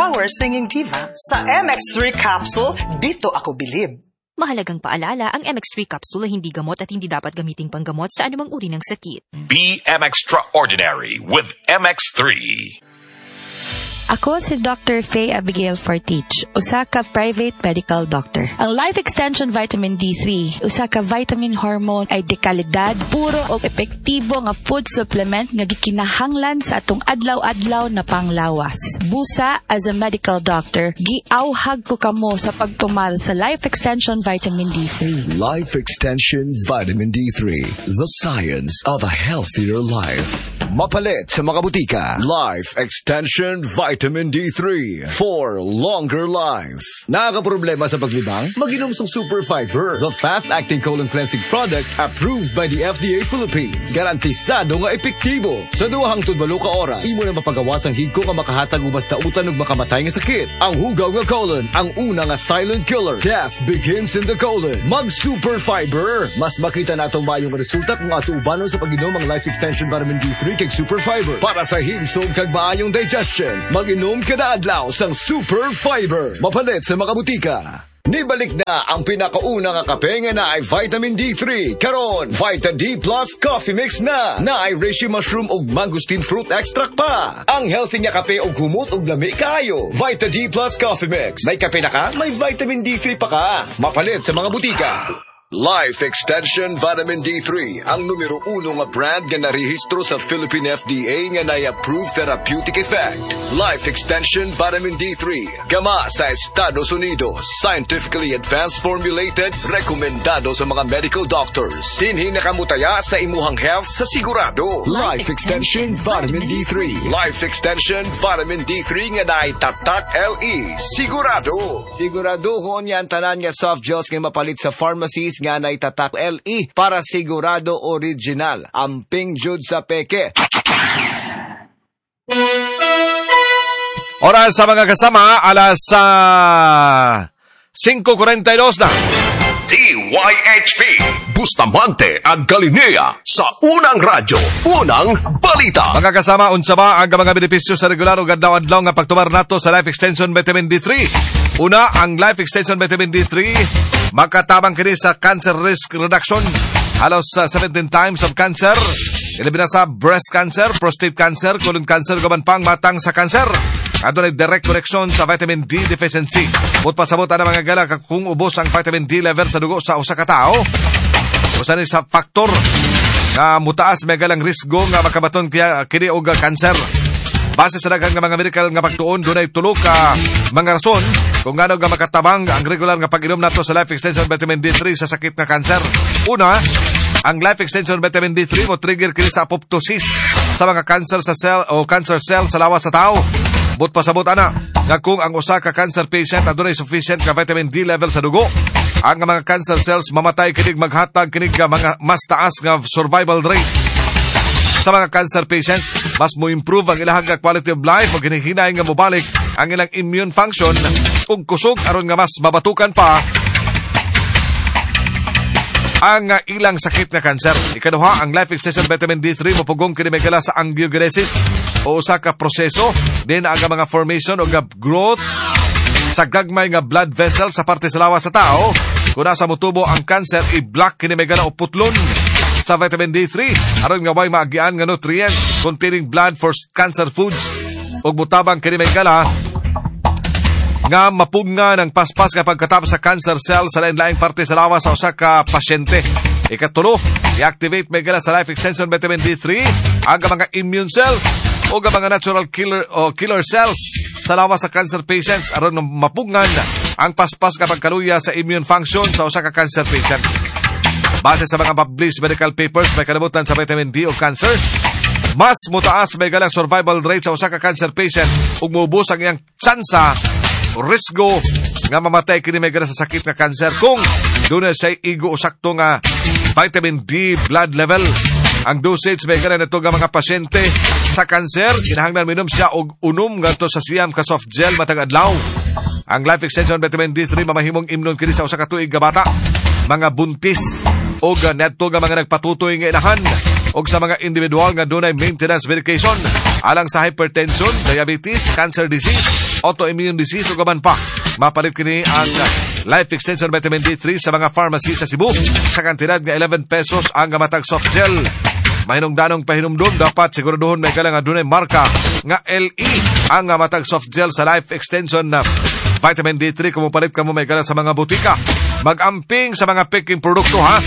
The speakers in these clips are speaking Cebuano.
Power Singing Diva. Sa MX3 capsule, dito ako bilib. Mahalagang paalala, ang MX3 capsule ay hindi gamot at hindi dapat gamiting panggamot sa anumang uri ng sakit. Be M Extraordinary with MX3. Ako si Dr. Faye Abigail Fortich, usa ka private medical doctor. Ang Life Extension Vitamin D3, usa ka vitamin hormone ay dekalidad, puro og epektibo nga food supplement nga gikinahanglan sa atong adlaw-adlaw na panglawas. Busa, as a medical doctor, giawhag ko kamo sa pagtumar sa Life Extension Vitamin D3. Life Extension Vitamin D3, the science of a healthier life. Mapalit sa mga butika. Life Extension Vitamin D3 for longer life. Nakakaproblema sa paglibang? Maginom sa Super Fiber, the fast-acting colon cleansing product approved by the FDA Philippines. Garantisado nga epektibo. Sa 2 hangtod 8 ka oras, imo na mapagawas ang higko nga makahatag og mas dautan ug makamatay nga sakit. Ang hugaw nga colon, ang una nga silent killer. Death begins in the colon. Mag Super Fiber. Mas makita natong maayong resulta kung ato ubanon sa pag-inom ang Life Extension Vitamin D3 kag Super Fiber. Para sa himsog kag maayong digestion, mag-inom kada adlaw sang Super Fiber. Mapalit sa mga butika. Nibalik na ang pinakauna nga kape nga naay vitamin D3. Karon, Vita D Plus Coffee Mix na. Naay reishi mushroom ug mangosteen fruit extract pa. Ang healthy nga kape ug humot ug lami kaayo. Vita D Plus Coffee Mix. May kape na ka, may vitamin D3 pa ka. Mapalit sa mga butika. Life Extension Vitamin D3, ang numero 1 nga brand nga narehistro sa Philippine FDA nga nay-approved therapeutic effect. Life Extension Vitamin D3, gama sa Estados Unidos, scientifically advanced formulated, rekomendado sa mga medical doctors. Dinhi nakamutaya sa imuhang health sa sigurado. Life Extension Vitamin D3. Life Extension Vitamin D3 nga naay tatak LE. Sigurado. Siguraduhon yan tanan nga soft gels nga mapalit sa pharmacies nga nay tatak LE para sigurado original. Amping jud sa peke. Oras sa mga kasama, alas 5:42 na. DYHP, Bustamante at Galinea sa unang radyo, unang balita. Mga kasama, unsa ba ang mga benepisyo sa regular o adlaw-adlaw nga pagtumar nato sa Life Extension Vitamin D3? Una, ang Life Extension Vitamin D3 makatabang kini sa cancer risk reduction. Halos 17 times of cancer. Ilabi na sa breast cancer, prostate cancer, colon cancer, gaban pang matang sa cancer. Adunay direct connection sa vitamin D deficiency. But pasabot ana mga gala kung ubos ang vitamin D level sa dugo sa usa ka tawo. Usa ni sa faktor nga mutaas may galang risgo nga makabaton kini og cancer. Base sa daghan nga mga medical nga pagtuon, dunay tulo ka mga rason kung ngano nga makatabang ang regular nga pag-inom nato sa Life Extension Vitamin D3 sa sakit nga cancer. Una, ang Life Extension Vitamin D3 mo trigger kini sa apoptosis sa mga cancer sa cell o cancer cell sa lawas sa tao. But pasabot ana nga kung ang usa ka cancer patient adunay sufficient nga vitamin D level sa dugo, ang mga cancer cells mamatay kinig maghatag kinig mga mas taas nga survival rate sa mga cancer patients. Mas mo improve ang ilahang quality of life ug hinihinay nga mobalik ang ilang immune function ug kusog aron nga mas mabatukan pa ang ilang sakit nga kanser. Ikaduha, ang Life Extension Vitamin D3 mopugong kini may gala sa angiogenesis o usa ka proseso din ang mga formation o growth sa gagmay nga blood vessel sa parte sa lawas sa tao. Kung nasa motubo ang cancer, i-block kini may gala o putlon sa vitamin D3 aron nga way maagian nga nutrients containing blood for cancer foods ug mutabang kini may gala nga mapunga ng paspas nga pagkatapos sa cancer cell sa lain-laing parte sa lawas sa usa ka pasyente. Ikatulo, i-activate may gala sa Life Extension Vitamin D3 ang mga immune cells o ang mga natural killer o killer cells sa lawas sa cancer patients aron mapungan ang paspas nga pagkaluya sa immune function sa usa ka cancer patient. Base sa mga published medical papers, may kalimutan sa vitamin D o cancer, mas mutaas may galang survival rate sa usa ka cancer patient ug muubos ang iyang tsansa o risgo nga mamatay kini may gala sa sakit nga cancer kung dunay say igo o sakto nga vitamin D blood level. Ang dosage may gala nito nga mga pasyente sa cancer, kinahanglan minom siya og 1 ngadto sa 9 ka soft gel matag adlaw. Ang Life Extension Vitamin D3 mamahimong imnon kini sa usa ka tuig nga bata, mga buntis o netto nga mga nagpatutoy nga inahan og sa mga individual nga dunay maintenance medication. Alang sa hypertension, diabetes, cancer disease, autoimmune disease ug uban pa. Mapalit kini ang Life Extension Vitamin D3 sa mga pharmacy sa Cebu sa kantidad nga 11 pesos ang matag soft gel. Mahinungdanong pahinumdum, dapat siguraduhon, may nga dunay marka nga LE ang matag soft gel sa Life Extension na Vitamin D3 kung mopalit kamo, may sa mga butika. Magamping sa mga peking produkto, ha.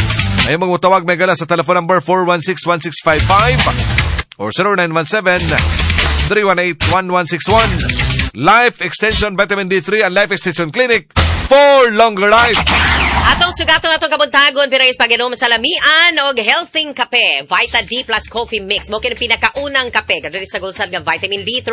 Ay mangutawag, may sa telephone number 416-1655 or 0917-318-1161. Life Extension Vitamin D3 and Life Extension Clinic for longer life. Atong sugaton atong kabuntagon pirayos pag-inom sa lamian og healthy kape. Vita D Plus Coffee Mix. Mo kini pinakaunang kape kadto sa gulsad nga vitamin D3.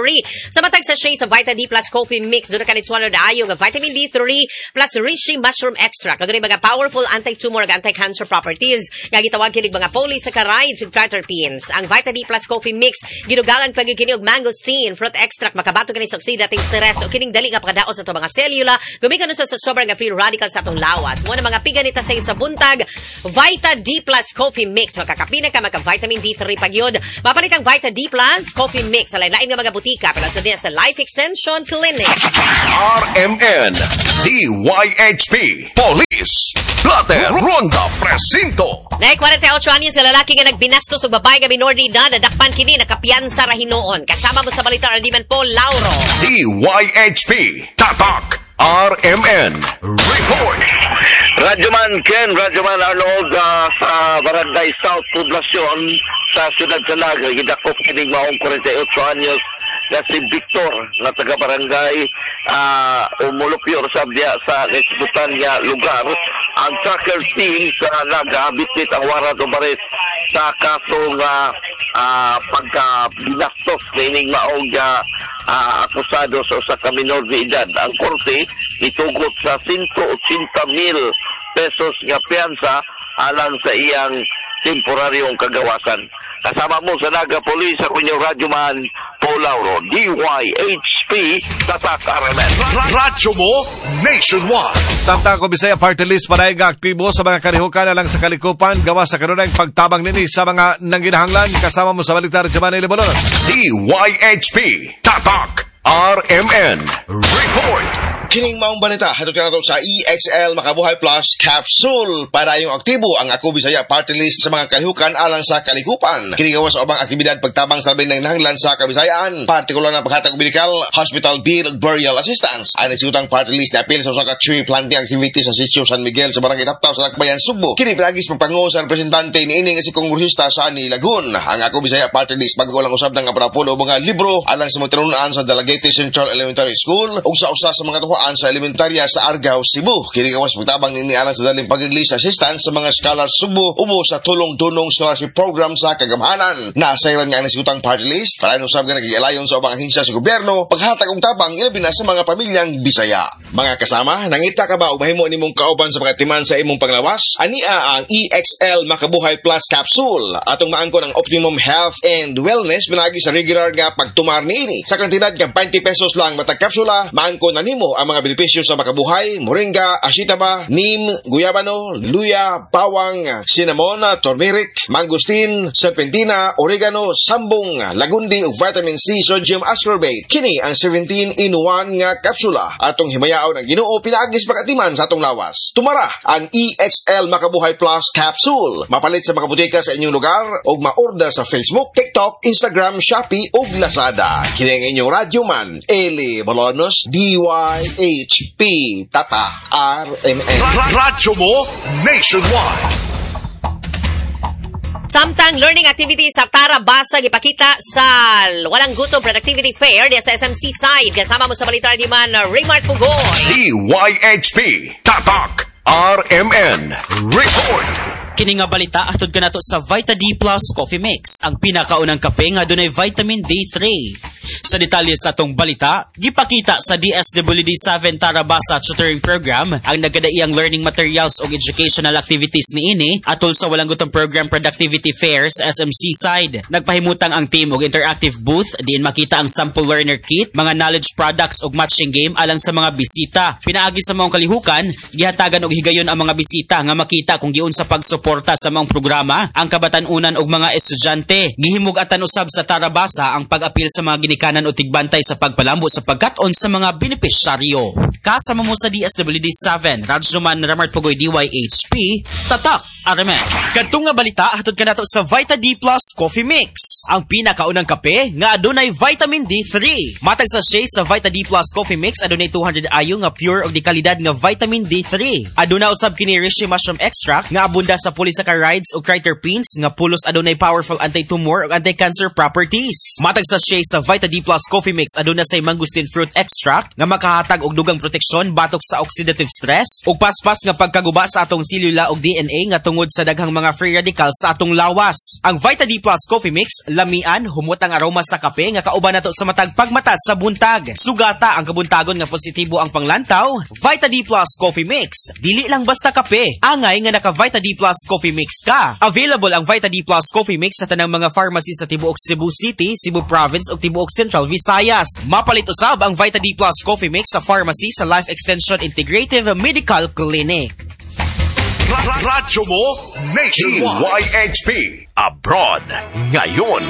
Sa matag sachet sa Vita D Plus Coffee Mix, duna ka nitsuano ayo nga vitamin D3 plus reishi mushroom extract. Kadto mga powerful anti-tumor ug anti-cancer properties nga gitawag kini mga polysaccharides ug triterpenes. Ang Vita D Plus Coffee Mix gidugangan pa gyud kini og mangosteen fruit extract, makabato kini sa oxidative stress o kining dali nga pagkadaos sa atong mga selula gumikan sa sobrang nga free radicals sa atong lawas. Mo na mga piganita sa iyo sa buntag, Vita D Plus Coffee Mix. Makakapina ka, maka vitamin D3 pagyud. Mapalit ang Vita D Plus Coffee Mix sa lain nga mga butika, pero sa sa Life Extension Clinic. RMN, DYHP, Police, Blatter, Ronda, Presinto. Nay 48 anyos sa lalaki nga nagbinastos og babae nga minor de edad, nadakpan kini nakapiyansa ra hinuon. Kasama mo sa balita, Ardiman Paul Lauro. DYHP, Tatak, RMN, Report. Radyoman Ken, Radyoman Arnold, sa Barangay South Poblacion sa Siyudad sa Naga, gidakop kining maong 48 anyos nga si Victor nga taga barangay Umulupyor sa diya sa naisgutan nga lugar. Ang tracker team sa Naga bitbit ang warrant of arrest sa kaso nga pagka binastos niining maong akusado sa usa ka minor de edad. Ang korte itugot sa 180 mil pesos nga piyansa alang sa iyang temporaryong kagawasan. Kasama mo sa Naga Police, ako inyong radyoman, Paul Lauro, DYHP, Tatak RMN. Radyo mo, Nationwide. Samtang Ako Bisaya Party List paray nga aktibo sa mga kalihukan alang sa kalikupan gawa sa kanunay pagtabang nini sa mga nanginahanglan. Kasama mo sa balita, Giovanni Libolonos. DYHP, Tatak, RMN, Report. Kining maong balita hatod kanato sa EXL Makabuhay Plus Capsule para yung aktibo ang Ako Bisaya Party List sa mga kalihukan alang sa kalikupan. Kini gawas sa ubang aktibidad pagtabang sa labing nanghinanglan sa Kabisayaan, partikular na paghatag og medical, hospital bill ug burial assistance. Ang nagsutang party list na apil sa usa ka tree planting activity sa sitio San Miguel sa Barangay Taptap sa Lakbayan, Sugbo. Kini pinaagi sa pagpango sa representante niini nga si kongresista Sonny Lagun. Ang Ako Bisaya Party List bag-o lang usab ng aprapulo og mga libro alang sa mga tinunan sa Dalaguete Central Elementary School ug sa usa sa mga tuhaan sa elementarya sa Argao, Cebu. Kini gawas pagtabang nini alang sa daling pag-release assistance sa mga scholars Sugbo ubo sa tulong-dunong scholarship program sa kagamhanan. Nasayran nga ang nasigutang party list para usab nga nagigalayon sa ubang ahensya sa gobyerno paghatag og tabang ilabi na sa mga pamilyang Bisaya. Mga kasama, nangita ka ba og mahimo nimong kauban sa pagatiman sa imong panglawas? Ania ang EXL Makabuhay Plus Capsule atong maangkon ang optimum health and wellness pinaagi sa regular nga pagtumar niini. Sa kantidad nga 20 pesos lang matag kapsula, maangkon na nimo ang mga benepisyo sa makabuhay, moringa, ashitaba, neem, guyabano, luya, bawang, cinnamon, turmeric, mangosteen, serpentina, oregano, sambong, lagundi ug vitamin C sodium ascorbate. Kini ang 17 in 1 nga kapsula atong himayaon ang Ginoo pinaagi sa pagatiman sa atong lawas. Tumara ang EXL Makabuhay Plus Capsule. Mapalit sa mga butika sa inyong lugar ug ma-order sa Facebook, TikTok, Instagram, Shopee ug Lazada. Kini ang inyong radyo man, Eli Bolonos, DYHP, Tatak RMN. Radyo mo, Nationwide. Samtang learning activities sa Tarabasa gipakita sa Walang Gutom Productivity Fair diya sa SMC side. Kasama mo sa balita ni man Raymart Pugoy. DYHP, Tatak, RMN, Report. Kini nga balita atod kanato sa Vita D Plus Coffee Mix, ang pinakaunang kape nga dunay vitamin D3. Sa detalye sa atong balita, gipakita sa DSWD 7 Tarabasa Tutoring Program ang nagkadaiyang learning materials ug educational activities niini atol sa Walang Gutom Program Productivity Fair sa SMC side. Nagpahimutang ang team og interactive booth diin makita ang sample learner kit, mga knowledge products ug matching game alang sa mga bisita. Pinaagi sa maong kalihukan, gihatagan og higayon ang mga bisita nga makita kung giunsa pag-support Nagsuporta sa maong programa ang kabatan-unan og mga estudyante. Gihimug-atan usab sa Tarabasa ang pag-apil sa mga ginikanan o tigbantay sa pagpalambo sa pagkat-on sa mga benepisyaryo. Kasama mo sa DSWD 7, Radyoman Ramart Pugoy DYHP, Tatak RMN. Kadtong nga balita hatod kanato sa Vita D Plus Coffee Mix, ang pinakaunang kape nga adunay vitamin D3. Matag sachet sa Vita D Plus Coffee Mix adunay 200 ayo nga pure og dekalidad nga vitamin D3. Aduna usab kini reishi mushroom extract nga abunda sa polysaccharides ug triterpenes nga pulos adunay powerful anti-tumor ug anti-cancer properties. Matag sachet sa Vita D Plus Coffee Mix aduna say mangosteen fruit extract nga makahatag og dugang proteksyon batok sa oxidative stress ug paspas nga pagkaguba sa atong selula ug DNA nga tungod sa daghang mga free radicals sa atong lawas. Ang Vita D Plus Coffee Mix, lamian, humot ang aroma sa kape nga kauban nato sa matag pagmata sa buntag. Sugata ang kabuntagon nga positibo ang panglantaw. Vita D Plus Coffee Mix, dili lang basta kape, angay nga naka Vita D Plus Coffee Mix ka. Available ang Vita D Plus Coffee Mix sa tanang mga pharmacy sa tibuok Cebu City, Cebu Province ug tibuok Central Visayas. Mapalit usab ang Vita D Plus Coffee Mix sa pharmacy sa Life Extension Integrative Medical Clinic. Radyo mo nationwide. DYHP Abroad ngayon.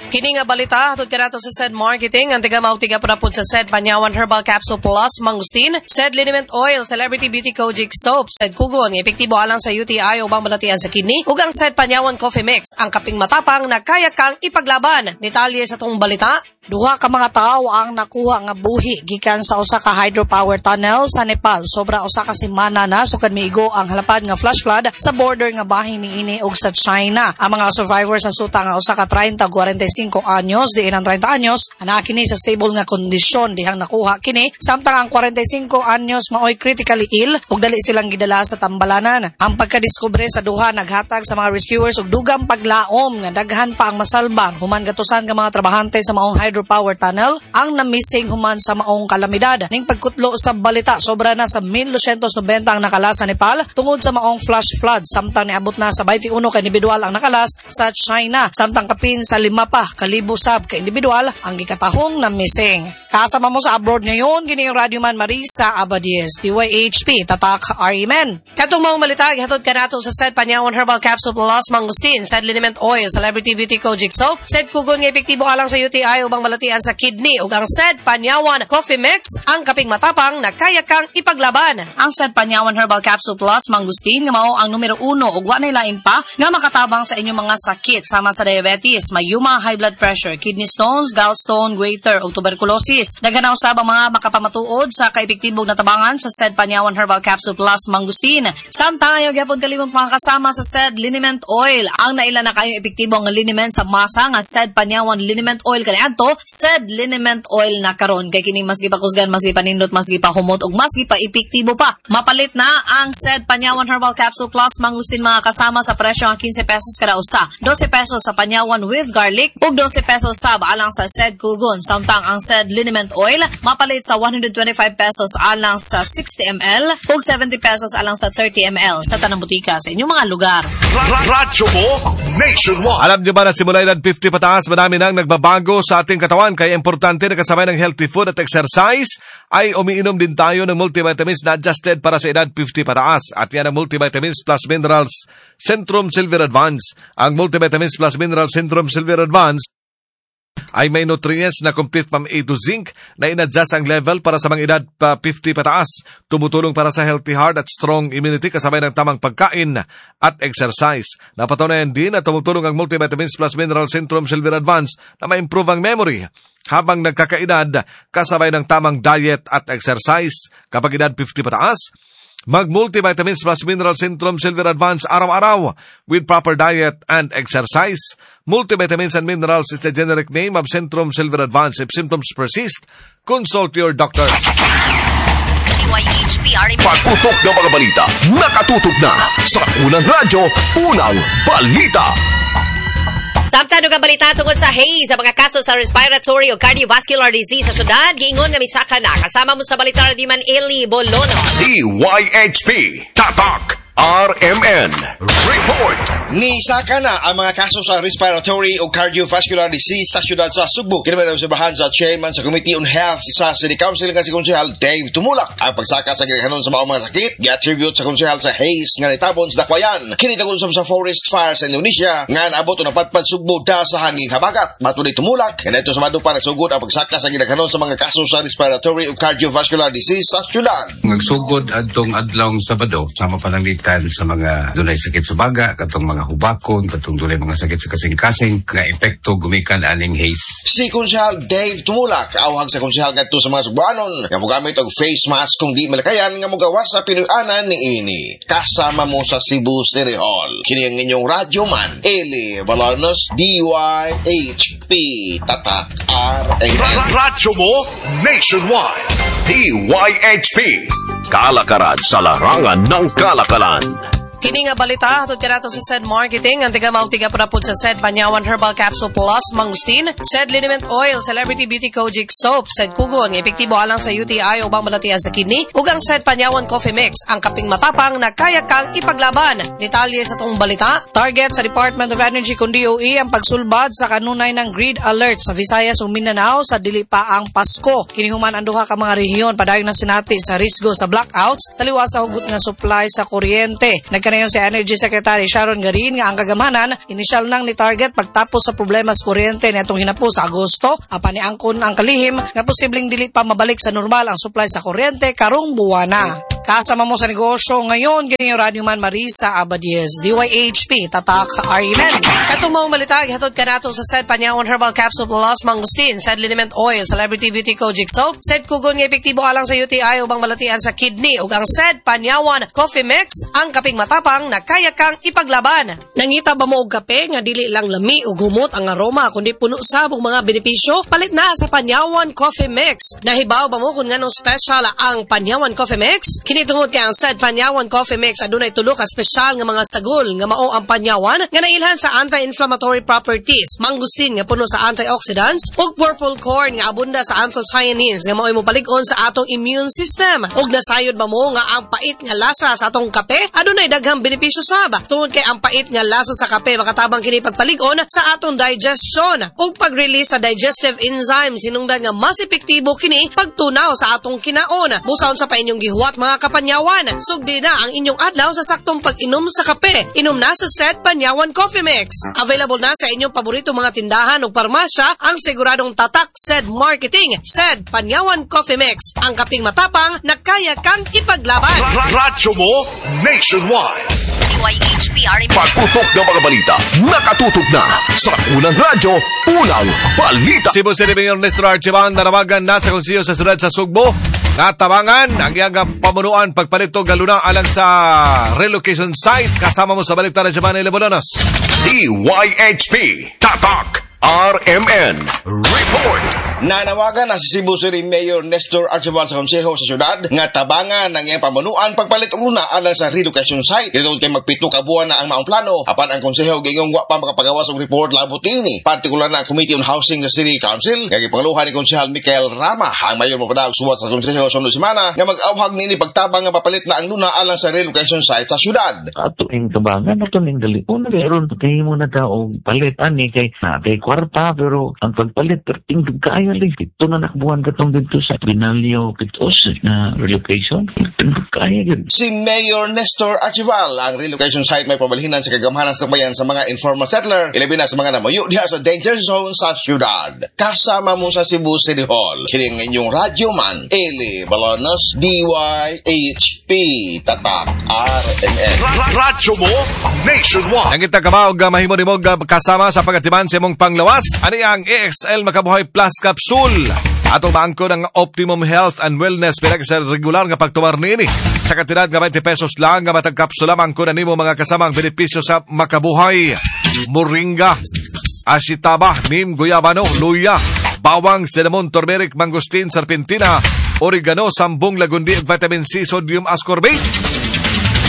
Kini nga balita hatod kanato sa SED Marketing ang tiga maog tiga pud sa SED Panyawan Herbal Capsule Plus Mangustin, SED Liniment Oil, Celebrity Beauty Kojic Soap, SED Kugon nga epektibo alang sa UTI ubang balatian sa kidney, ug ang SED Panyawan Coffee Mix, ang kaping matapang na kaya kang ipaglaban. Detalye sa tong balita. Duha ka mga tawo ang nakuha nga buhi gikan sa usa ka hydropower tunnel sa Nepal. Sobra usa ka semana na sukad miigo ang halapad nga flash flood sa border nga bahin niini og sa China. Ang mga survivors sa suta nga usa ka 30 ug 45 anyos diin ang 30 anyos ana kini sa stable nga kondisyon dihang nakuha kini, samtang ang 45 anyos maoy critically ill ug dali silang gidala sa tambalanan. Ang pagkadiskubre sa duha naghatag sa mga rescuers og dugang paglaom nga daghan pa ang masalba human gatusan ka mga trabahante sa maong hydropower tunnel ang na-missing human sa maong kalamidad. Ning pagkutlo sa balita, sobra na sa 1,290 ang nakalas sa Nepal tungod sa maong flash flood, samtang niabot na sa 21 ka individual ang nakalas sa China, samtang kapin sa 5 pa kalibo sab ka individual ang gikatahong na missing. Kasama mo sa abroad ngayon, gini yung Radyoman Marisa Abadies, DYHP, Tatak RMN. Katong maong balita, gihatod kanato sa SED Panyawan Herbal Capsule Plus Mangustin, SED Liniment Oil, Celebrity Beauty Kojic Soap, SED Kugon nga epektibo alang sa UTI ubang balatian sa kidney, ug ang SED Panyawan Coffee Mix, ang kaping matapang na kaya kang ipaglaban. Ang SED Panyawan Herbal Capsule Plus Mangustin nga mao ang numero 1 ug wa nay lain pa nga makatabang sa inyong mga sakit sama sa diabetes, mayuma, high blood pressure, kidney stones, gallstone, goiter ug tuberculosis. Daghan na usab ang mga makapamatuod sa kaepektibong natabangan sa SED Panyawan Herbal Capsule Plus Mangustin. Samtang ayaw gyapon kalimot mga kasama sa SED Liniment Oil. Ang naila na kayong epektibo ang liniment sa masa nga SED Panyawan Liniment Oil kaniadto, SED Liniment Oil na karon kay kini mas gipakusgan, mas gipanindot, mas gipahumot ug mas gipa-epektibo pa. Mapalit na ang SED Panyawan Herbal Capsule Plus Mangustin mga kasama sa presyo nga 15 pesos kada usa, 12 pesos sa Panyawan with garlic ug 12 pesos sab alang sa SED Kugon. Samtang ang SED Liniment Oil mapalit sa 125 pesos alang sa 60 ml ug 70 pesos alang sa 30 ml sa tanang butika sa inyong mga lugar. Radyo mo nationwide. Alam niyo ba na simula edad 50 pataas, marami nang nagbabago sa ating katawan, kaya importante na kasabay ng healthy food at exercise ay umiinom din tayo ng multivitamins na adjusted para sa edad 50 pataas. At yan ang Multivitamins Plus Minerals Centrum Silver Advance. Ang Multivitamins Plus Minerals Centrum Silver Advance ay may nutrients na complete from A to zinc na in-adjust ang level para sa mga edad pa 50 pataas. Tumutulong para sa healthy heart at strong immunity kasabay ng tamang pagkain at exercise. Napatunayan din na tumutulong ang Multivitamins Plus Mineral Centrum Silver Advance na ma-improve ang memory habang nagkakaedad kasabay ng tamang diet at exercise. Kapag edad 50 pataas, mag-Multivitamins Plus Mineral Centrum Silver Advance araw-araw with proper diet and exercise. Multivitamins and minerals is the generic name of Centrum Silver Advance. If symptoms persist, consult your doctor. DYHP RMN. Pagputok ng mga balita, nakatutok na sa unang radyo, unang balita. Samtang ang balita tungkol sa haze sa mga kaso sa respiratory o cardiovascular disease sa syudad, giingon nga misaka na. Kasama mo sa balita Radyoman Eli Bolono. DYHP Tatak RMN Report. Nisaka na ang mga kaso sa respiratory o cardiovascular disease sa siyudad sa Sugbo. Kini man obserbahan sa chairman sa Committee on Health sa City Council nga si Konsehal Dave Tumulak. Ang pagsaka sa gilakanon sa maong mga sakit, gi-attribute sa konsehal sa haze nga nitabon sa Dakwayan. Kini tagol sa forest fire sa Indonesia nga naabot o napadpad Sugbo da sa hanging habagat. Matod ni Tumulak, kanadto sa Madupa nagsugod ang pagsaka sa gilakanon sa mga kaso sa respiratory o cardiovascular disease sa siyudad. Nagsugod adtong adlawng Sabado, sama pananglitan sa mga dunay sakit sa baga, katong mga hubakon, katong dunay mga sakit sa kasing-kasing, nga epekto gumikan aning haze. Si Konsehal Dave Tumulak awhag sa konsehal ngadto sa mga Sugboanon nga mogamit og face mask kung di malakayan nga mogawas sa Pinoy-anan ni ini. Kasama mo sa Cebu City Hall. Kini ang inyong radyo man, Eli Balanos, DYHP Tatak RMN. Radyo mo nationwide. DYHP. Kalakaran sa larangan ng kalakalan. Kini nga balita hatod kanato sa SED Marketing ang tiga maog tiga pud sa SED Panyawan Herbal Capsule Plus Mangustin, SED Liniment Oil, Celebrity Beauty Kojic Soap, SED Kugon nga epektibo alang sa UTI o ubang balatian sa kidney, ug ang SED Panyawan Coffee Mix, ang kaping matapang na kaya kang ipaglaban. Detalye sa tong balita, target sa Department of Energy kun DOE ang pagsulbad sa kanunay ng grid alert sa Visayas ug Mindanao sa dili pa ang Pasko. Kini human ang duha ka mga rehiyon padayon na sinati sa risgo sa blackouts taliwas sa hugot nga supply sa kuryente. Nagkanayon si Energy Secretary Sharon Garin nga ang kagamanan inisyal nang ni target pagtapos sa problema sa kuryente nitong hinapo sa Agosto apan niangkon ang kalihim nga posibleng dili pa mabalik sa normal ang supply sa kuryente karong buwana. Kasama mo sa negosyo ngayon, kini yung Radyo Man Marisa Abadies, DYHP, Tatak RMN. Katong maong balita, gihatod kanato sa SED Panyawan Herbal Capsule Plus Mangustin, SED Liniment Oil, Celebrity Beauty Kojic Soap, SED Kugon nga epektibo alang sa UTI ubang malatian sa kidney, ug ang SED Panyawan Coffee Mix, ang kaping matapang na kaya kang ipaglaban. Nangita ba mo og kape nga dili lang lami ug humot ang aroma kundi puno sab og mga benepisyo? Palit na sa Panyawan Coffee Mix. Nahibaw ba mo kung nganong special ang Panyawan Coffee Mix? Kini tungod kay ang SED Panyawan Coffee Mix adunay tulo ka espesyal nga mga sagol nga mao ang panyawan nga nailhan sa anti-inflammatory properties, mangustin nga puno sa antioxidants ug purple corn nga abunda sa anthocyanins nga mao'y mopalig-on sa atong immune system. Ug nasayod ba mo nga ang pait nga lasa sa atong kape adunay daghang benepisyo sab? Tungod kay ang pait nga lasa sa kape makatabang kini pagpalig-on sa atong digestion ug pag-release sa digestive enzymes hinungdan nga mas epektibo kini pagtunaw sa atong kinaon. Busaon sa pa inyong gihuwat mga kapanyawan. Sugdi na ang inyong adlaw sa saktong pag-inom sa kape. Inom na sa SED Panyawan Coffee Mix. Available na sa inyong paborito mga tindahan o parmasya ang siguradong tatak SED Marketing. SED Panyawan Coffee Mix, ang kaping matapang na kaya kang ipaglaban. Radyo mo nationwide. DYHP RMN. Pagputok ng mga balita, nakatutok na sa unang radyo, unang balita. Cebu City Mayor Nestor Archival nanawagan na sa konseyo sa siyudad sa Sugbo natabangan ang iyang pamunuan pagpalit og galuna alang sa relocation site. Kasama mo sa balita na Giovanni Lebolonos. DYHP Tatak RMN Report. Nanawagan na si Cebu City Mayor Nestor Archival sa konseho sa syudad nga tabangan ang iyang pamunuan pagpalit og luna alang sa relocation site. Dito kay magpito ka buwan na ang maong plano apan ang konseho gingong wa pa makapagawas og report labot niini. Partikular na ang Committee on Housing sa City Council nga gipanguluhan ni Konsehal Michael Rama. Ang mayor mopadaog suwat sa konseho sunod semana nga mag-awhag niini pagtabang nga papalit na ang luna alang sa relocation site sa syudad. Ato ning tabangan ato ning dali. Una meron kay mo na ta og palit ani kay na kay kwarta pero ang pagpalit perting kaayo lang ito na nakbuhan katong dito sa Binalyo Pitos na relocation kaayo gyud. Si Mayor Nestor Archival, ang relocation site may pabalhinan sa kagamhanan sa bayan sa mga informal settler, ilabi na sa mga namuyo diha sa danger zone sa syudad. Kasama mo sa Cebu City Hall, kini ang inyong radyo man, Eli Balanos, DYHP Tatak RMN. Radyo mo nationwide. Nangita ka ba og mahimo nimo kasama sa pagatiman sa imong panglawas? Ani ang EXL Makabuhay Plus Capsule. Atong maangko ng optimum health and wellness pinag sa regular nga pagtumar niini. Sa kantidad nga 20 pesos lang nga matag kapsula maangko na nimo mga kasama ang benepisyo sa makabuhay. Moringa, ashitaba, neem, guyabano, luya, bawang, cinnamon, turmeric, mangosteen, serpentina, oregano, sambong, lagundi, vitamin C, sodium ascorbate.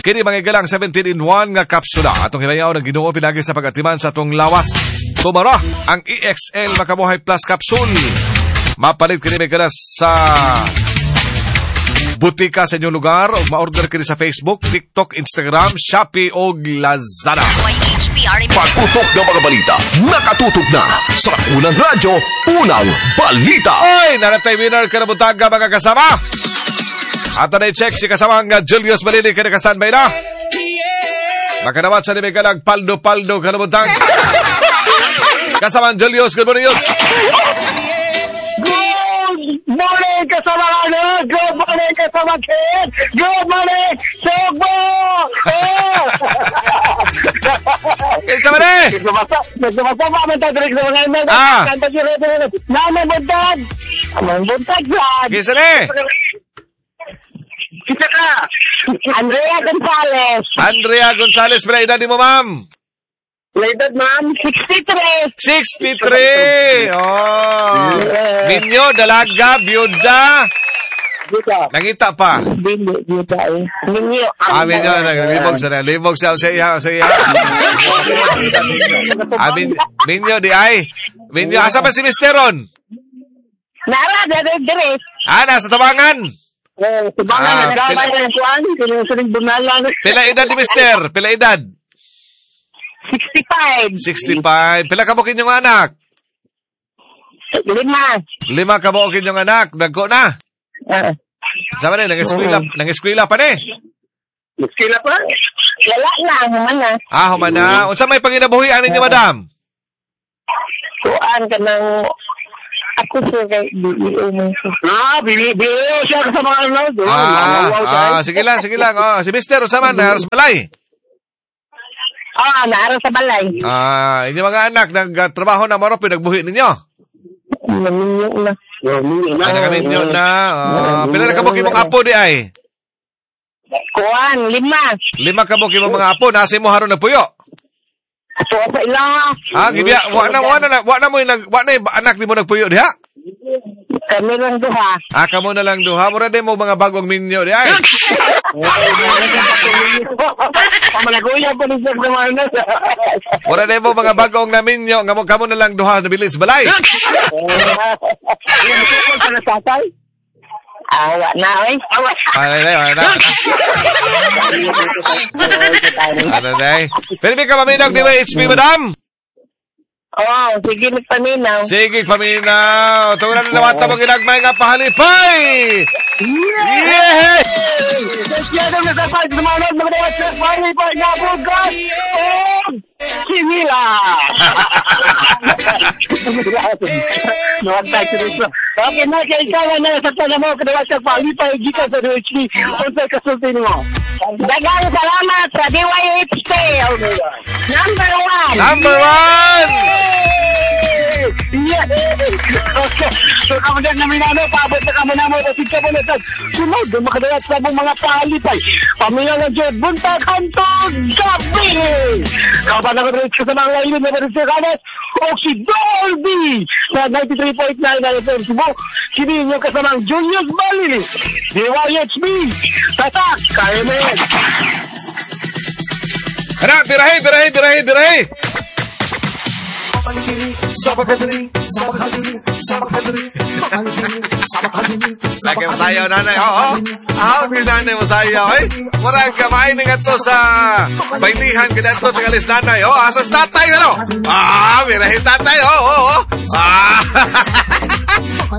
Kini mga galang 17-in-1 nga kapsula. Atong hinayaw ng Ginoo pinagi sa pagatiman sa atong lawas. Tumara ang EXL Makabuhay Plus Capsule. Mapalit kini may galas sa butika sa inyong lugar o ma-order kini sa Facebook, TikTok, Instagram, Shopee o Lazada. DYHP Pagputok ng mga balita, nakatutok na sa unang radyo, unang balita. Oy, naratay winner karabutaga mga kasama. Ato na i-check si kasamang Julius Malili kaya naka-standby na. Makanawat sa nimigalag paldo-paldo karabutag. Kasamang Julius, good morning, Julius. Good morning, kasama ano? Good morning, kasama Ken! Good morning, Sugbo! Kinsa man eh? Nagbabasa man tayo direct sa mga email. Ah. Kanta siya rin. Nanay buntag! Amang buntag yan! Kinsa ni? Kita ka! Andrea Gonzales. Andrea Gonzales, pila edad ni mo, ma'am? La edad, ma'am? 63. 63! Oh. Minyo, dalaga, byuda. Nangita pa. Dili, byuda eh. Minyo. Ah, minyo, libog sa libog sa sa iya, sa iya. Ah, minyo di ay. Minyo, asa pa si Mr. Ron? Nara, dere, dere. Ah, nasa tabangan. Eh, tabangan, Ah, nagkamay ng kuan, sining bunalan. Pila edad ni Mister? Pila edad? 65. 65. Pila ka mo kinyong anak? 5. 5 ka mo kinyong anak. Dagko na. Sama ni, nang-eskwela pa ni. Eskwela pa? Wala na, human na. Ah, human na. Unsa may panginabuhi ani niyo, madam? Kuan ka ng ako sir kay BEO mo. Ah, BEO siya sa mga ano. Sige lang, sige lang. Oh, si Mister, unsa man naaras balay? Ah, naaras sa balay. Ah, inyo mga anak nagtrabaho na maro pinagbuhi ninyo. Naminyo na. Ah, nagaminyo na. Pila na kabuk imong apo di ay? Kuan, 5. 5 kabuk imong mga apo nasa imo haron nagpuyo. Ato sa ila. Ah, gibya, wa na anak nimo nagpuyo diha. Kami lang duha. Ah, kamo na lang duha. Mura din mo mga bagong minyo di ay. Mura din mo mga bagong na minyo. Nga mo kamo na lang duha nabilin sa balay. Awa na, oy. Awa. Ano na, ano na. Ano na, eh. Pero may kapaminaw, di ba, HP, madam? Oo, sige, magpaminaw. Sige, paminaw. Tungan na naman tabang ginagmay nga pahalipay! Yeah! Okay na, kaya ikaw na sa tanong mo, kadawa sa palipay, gikan sa DHP, unsay kasulti nimo. Daghang salamat sa DYHP. Number 1. Number 1! Yeah! Okay. So, kamo din namin ano, paabot na kamo na mo, kasi kamo na sa sunod, makadayat sa mong mga palipay. Pamilya ng Diyos, buntag, hantog, gabi! Kapan ako rin sa mga lailin na rin sa kanas, o si Dolby sa 93.9 FM Cebu, kini inyo kasamang Julius Balili, DYHB, Tatak, kaya mo yan. Tara, birahe, birahe, birahe, birahe! Lagi masayaw, nanay. Oo. Aw, ni nanay masayaw, eh. Murag kamay ni ngadto sa bailihan kadto tingalis nanay. Oh, asas tatay ano? Ah, birahe tatay. Oo, oo. Ah.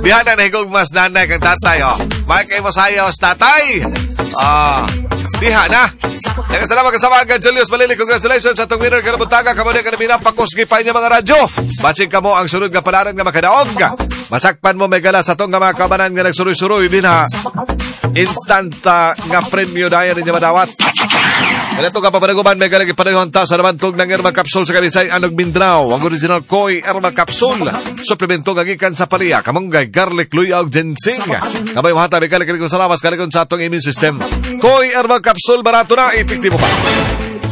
Diha na nahigog mas nanay kang tatay, oh. May kay masayaw sa tatay. Ah. Diha na. Nagkasalamat kasama ang Julius Malili. Congratulations sa itong winner karabutaga. Kamo na kanamina pakusgi pa niya mga radyo. Basing kamo ang sunod nga palaran nga makadaog. Masakpan mo may gala sa itong nga mga kabanan nga nagsuroy-suroy din ha. Instant nga premyo dayan ninyo madawat. Ganito nga papanaguban may gala ipanayuhan ta sa namantog ng Herbal Capsule sa Kalisay Anog Mindanao. Ang original Koi Herbal Capsule. Suplemento nga gikan sa paliya, kamunggay, garlic, luya ug ginseng. Kamay mahata may gala kalikon sa lawas, kalikon sa atong immune system. Koi Herbal Capsule, barato na, epektibo pa.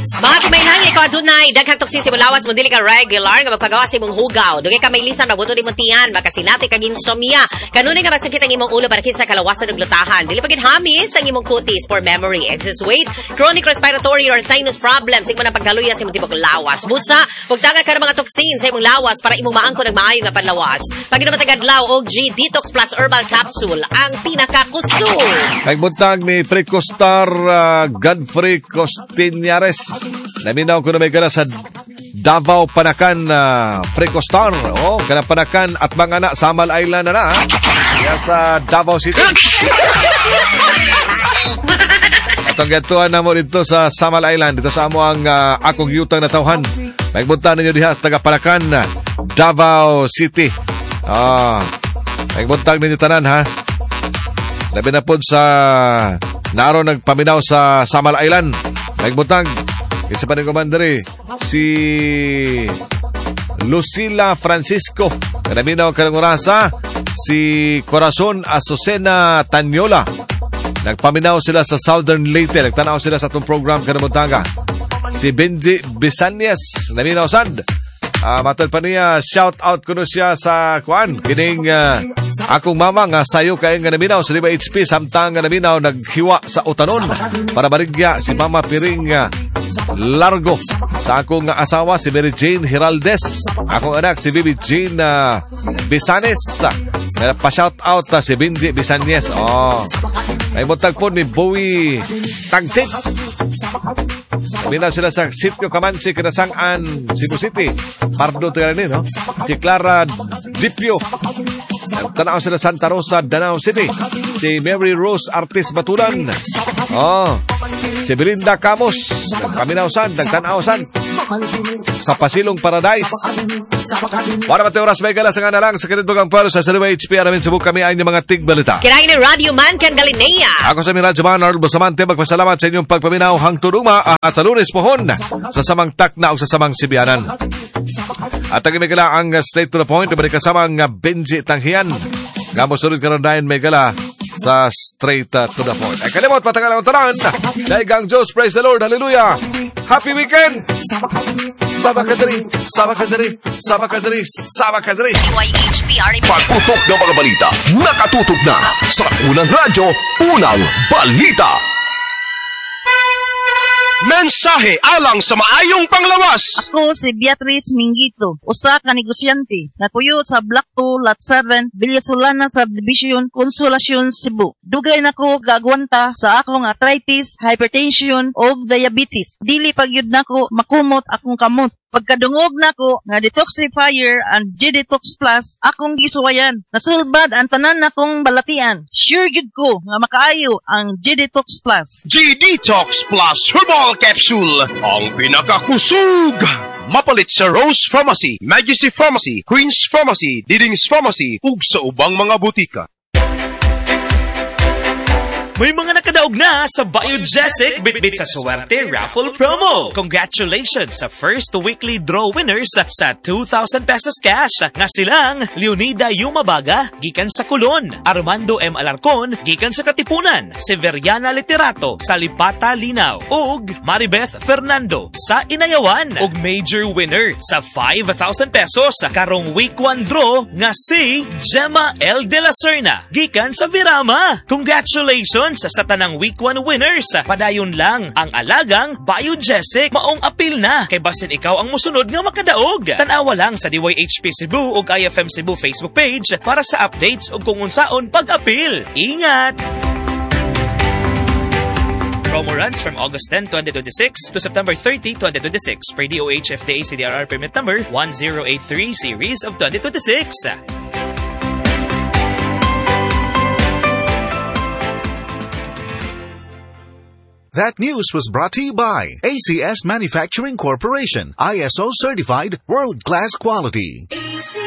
Mga kumainang, ikaw adunay daghang toksin sa imong lawas mo dili ka regular nga magpagawa sa imong hugaw. Dugay ka may lisan mabuto imong tiyan, makasinati kag insomnia. Kanunay nga masakit ang imong ulo para kinsa kalawasan ug lutahan. Dili pa gid hamis ang imong kutis for memory, excess weight, chronic respiratory or sinus problems, imo na pagkaluya sa imong tibok lawas. Busa, pugtanga ka ng mga toksin sa imong lawas para imong maangkon ang maayo nga panlawas. Pag-inom tagadlaw og G Detox Plus Herbal Capsule ang pinakakusog. Nagbuntag ni Fricostar Godfrey Costinares. Naminaw ko na may gala sa Davao Panakan Freco Star. Oh, kanang Panakan at mga na Samal Island na na. Diya sa Davao City. Atong gatuan na mo dito sa Samal Island, dito sa amo ang akong yutang na tawhan. Magbunta ninyo diha sa taga Panakan, Davao City. Magbunta ninyo tanan ha. Labi na pod sa naroon nagpaminaw sa Samal Island. Magbutang isa pa ni Commander si Lucila Francisco. Kanaminaw karong orasa si Corazon Azucena Tanyola. Nagpaminaw sila sa Southern Leyte. Nagtanaw sila sa atong program karong buntaga. Si Benji Bisanyes naminaw sad. Matod pa niya, shout out kuno siya sa kuan kining akong mama nga sayo kay nga naminaw sa 5 HP samtang nga naminaw naghiwa sa utanon para barigya si Mama Piring Largo sa akong asawa si Mary Jane Giraldes, akong anak si Bibi Jane Bisanes. Pa shout out si Benji Bisanyes. Oh. May buntag po ni Bowie Tagsit. Minaw sila sa Sitio Kamansi, Kinasangan, Cebu City. Pardo tayo no? Si Clara Dipio. Tanaw sila Santa Rosa, Danao City. Si Mary Rose Artis Batulan. Oh. Si Belinda Camos. Nagpaminaw-san, nagtanaw-san. Sa Pasilong Paradise. Para mati oras may gala sa nga na lang sa kinitbugang puwero sa Sariwa HP. Aramin Cebu kami ay inyong mga tigbalita. Kirain ni Radio Man Ken Galinea. Ako sa Radyo Man, Arnold Bustamante, magpasalamat sa inyong pagpaminaw hangtod ugma sa Lunes pohon sa samang takna o sa samang sibianan. At ang may gala ang straight to the point, may kasama ang Benji Tanghian. Nga mo sunod karon dayon may gala sa straight to the point. Ay kalimot, patagal ang tanan. Daigang Diyos, praise the Lord, hallelujah. Happy weekend! Sama ka diri, sama ka diri, sama ka diri, sama ka diri. Pagputok ng mga balita, nakatutok na sa unang radyo, unang balita. Mensahe alang sa maayong panglawas. Ako si Beatrice Mingito, usa ka negosyante, nakuyo sa Block 2, Lot 7, Villasolana Subdivision, Consolacion, Cebu. Dugay nako gaagwanta sa akong arthritis, hypertension ug diabetes. Dili pagyud nako makumot akong kamot. Pagkadungog nako nga detoxifier and G-Detox Plus akong gisuwayan. Nasulbad ang tanan nakong balatian. Sure gyud ko nga makaayo ang G-Detox Plus. G-Detox Plus Herbal Capsule, ang pinakakusog! Mapalit sa Rose Pharmacy, Majesty Pharmacy, Queen's Pharmacy, Diding's Pharmacy, ug sa ubang mga butika. May mga nakadaog na sa Biogesic Bitbit sa Suwerte Raffle Promo. Congratulations sa first weekly draw winners sa 2,000 pesos cash nga silang Leonida Yumabaga, gikan sa Colon, Armando M. Alarcon, gikan sa Katipunan, Severiana Literato sa Lipata, Linaw, ug Maribeth Fernando sa Inayawan, ug major winner sa 5,000 pesos karong week 1 draw nga si Gemma L. De La Serna, gikan sa Virama. Congratulations sa tanang week 1 winners. Padayon lang ang alagang Biogesic. Maong apil na kay basin ikaw ang musunod nga makadaog. Tanawa lang sa DYHP Cebu ug IFM Cebu Facebook page para sa updates ug kung unsaon pag-apil. Ingat! Promo runs from August 10, 2026 to September 30, 2026 per DOH FDA CDRR permit number 1083 series of 2026. That news was brought to you by ACS Manufacturing Corporation, ISO certified, world-class quality.